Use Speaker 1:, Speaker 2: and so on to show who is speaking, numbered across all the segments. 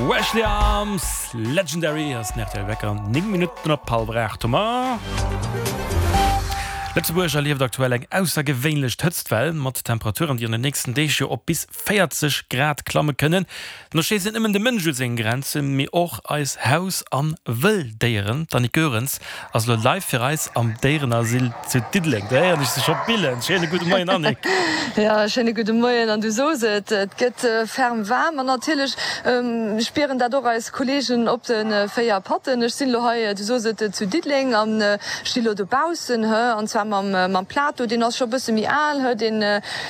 Speaker 1: Wesley Arms, Legendary ass den rtl Wecker, 9 Minutten op hallwer 8 hu mer. Lëtzebuerg erlieft aktuell eng aussergewéinlech Hëtztwell, mat Temperaturen, déi an den nächsten Deeg jo op bis 40 Grad klamme kënnen. No schéisst net nëmmen de Mënsch u seng Grenzen, mee och eis Haus an Wëlldéieren. D'Annick Goerens ass elo live fir eis am Déierenasyl zu Diddeleng. Do héieren ech se scho billen. Schéine gudde Moien Annick.
Speaker 2: Jo, schéine gudde Moien. An du sos et, et gëtt ferm waarm an natierlech spieren dat och eis Kolleegen op de 4 Patten. Ech sinn elo hei, du sos et, zu Diddeleng an sti lo dobaussen, an zwar mam Plato. Deen ass scho e bësse méi al, deen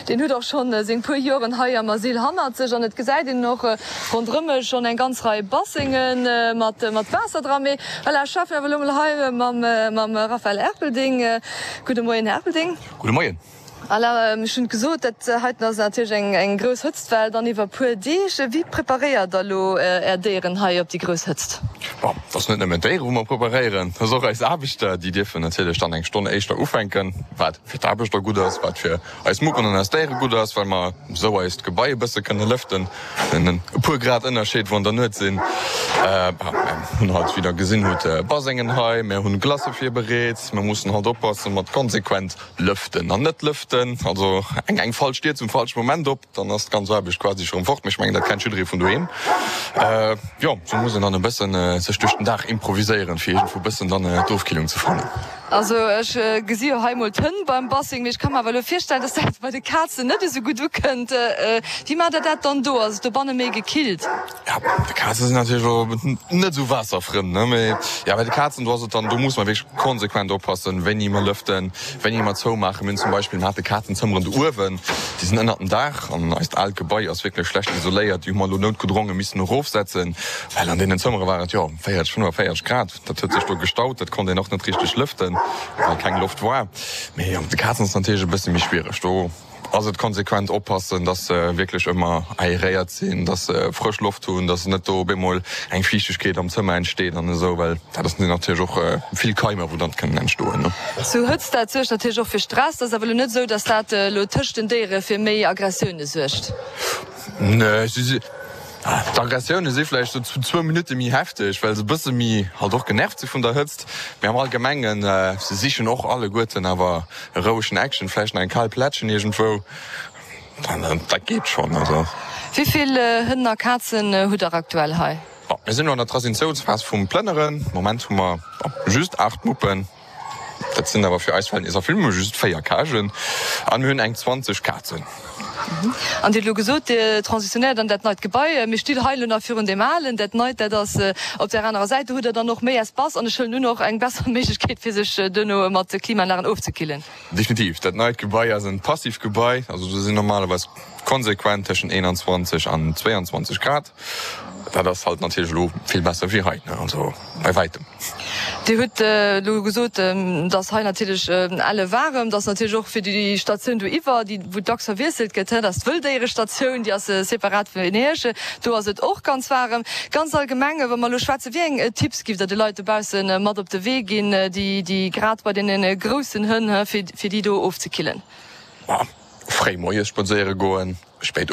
Speaker 2: Deen huet och schonn seng puer Joren hei am Asyl hannert sech an et gesäit een och ronderëm mech schonn eng ganz Rei Bassenge mat Waasser dran. Mee voilà, ech schwätzen awer elo mol hei mam Raphaël Erpelding. Gudde Moien, Här Erpelding.
Speaker 3: Gudde Moien.
Speaker 2: Voilà, ech hunn et gesot, dat heiten ass natierlech eng grouss Hëtztwell dann iwwer puer Deeg. Wéi preparéiert Der elo Är Déieren hei op déi grouss Hëtzt?
Speaker 3: Bon, et ass net nëmmen d'Déiere wou mer preparéieren, et ass och eis Aarbechter. Déi dierfen natierlech dann eng Stonn éischter ufänken, wat fir d'Aarbechter gutt ass, wat fir eis Muppen an eis Déiere gutt ass, well mer esou eist Gebai e bësse kënne lëften. En e puer Grad Ënnerscheed, wou an der Nuet sinn. Mer hunn halt, wéi der gesinn hutt, Basengen hei, mer hunn Glacë virbereet. Mer mussen halt oppasse mat konsequent lëften an net lëften. Also eng eng falsch Dier zum falsche Moment op, dann ass d'ganz Aarbecht quasi scho rëm fort. Mee ech mengen, dat kennt jidderee vun doheem. Jo, sou muss een dann e bëssen sech duerch den Dag improviséieren, fir iergendwou e bëssen dann d'Ofkillung ze fannen.
Speaker 2: Also ech gesi jo hei mol d'Hënn beim Bassing, mee ech ka mer awer elo virstellen, dass dat bei de Kazen net esou gutt ukënnt. Wéi maacht der dat dann do? Ass et dobanne méi gekillt?
Speaker 3: Ja, d'Kaze sinn natierlech elo net esou Waasserfrënn, ne? Mee ja, bei de Kazen, do ass et dann, do muss mer wierklech konsequent oppassen, wéini mer lëften, wéini mer zoumaachen. Mir hunn zum Beispill, mir hate Kazenzëmmeren do uewen, déi sinn ënnert dem Daach an eist aalt Gebai ass wierklech schlecht isoléiert. Déi hu mer elo noutgedronge missen erofsetzen, well an deenen Zëmmere war et, jo, 40, 45 Grad. Dat huet sech do gestaut, dat konnt een och net richteg lëften, well keng Loft war. Mee jo, mat de Kazen ass et natierlech e bësse méi schwiereg. Do ass et konsequent oppassen, dass se wierklech ëmmer aeréiert sinn, dass se frësch Loft hunn, dass net do op eemol eng Fiichtegkeet am Zëmmer entsteet an esou, well dat ass natierlech och vill Keimer, wou dann kënnen entstoen, ne.
Speaker 2: Sou Hëtzt, dat suergt natierlech och fir Stress. Dat ass awer elo net esou, dass dat elo tëscht den Déiere fir méi Aggressioune suergt?
Speaker 3: Nee, si si. D'Aggressioune si vläicht sou zu zwou Minutte méi hefteg, well se e bësse méi halt och genervt si vun der Hëtzt. Mee am Allgemengen, se sichen och alleguerten awer e rouegen Eckchen, vläicht nach eng kal Plättchen iergendwou, dann dat geet schonn. Also.
Speaker 2: Wéi vill Hënn a Kazen hutt der aktuell hei?
Speaker 3: Bon, mir sinn elo an der Transitiounsphas vum Plënneren. Moment hu mer just 8 Muppen. Dat sinn awer fir eis Verhältnisser vill. Mir hu just 4 Cagen an mir hunn eng 20 Kazen.
Speaker 2: An Dir hutt elo gesot, Dir transitionéiert an dat neit Gebai. Mir stinn hei elo nach virun deem alen. Dat neit, dat ass op där anerer Säit. Do hutt Der dann och méi Espace an ech huelen un och eng besser Méiglechkeet, fir sech duerno mat Klimaanlagen ofzekillen.
Speaker 3: Definitiv. Dat neit Gebai ass en passiv Gebai. Also do sinn normalerweis konsequent tëschent 21 an 22 Grad. Dat ass halt natierlech elo vill besser wéi hei, ne, also bei wäitem.
Speaker 2: Dir hutt elo gesot, dass hei natierlech elle waarem, dass natierlech och fir déi Statioun do iwwer, déi wou dacks verwiesselt gëtt, dat ass d'Wëlldéierestatioun, déi ass separat vun Iech, do ass et och ganz waarem. Ganz allgemeng, wa mer elo schwätzen, wéi eng Tipps giff Der de Leit dobausse mat op de Wee ginn, déi déi grad bei deene groussen Hënn, fir déi do ofzekillen?
Speaker 3: Fréi moies spadséiere goen, spéit.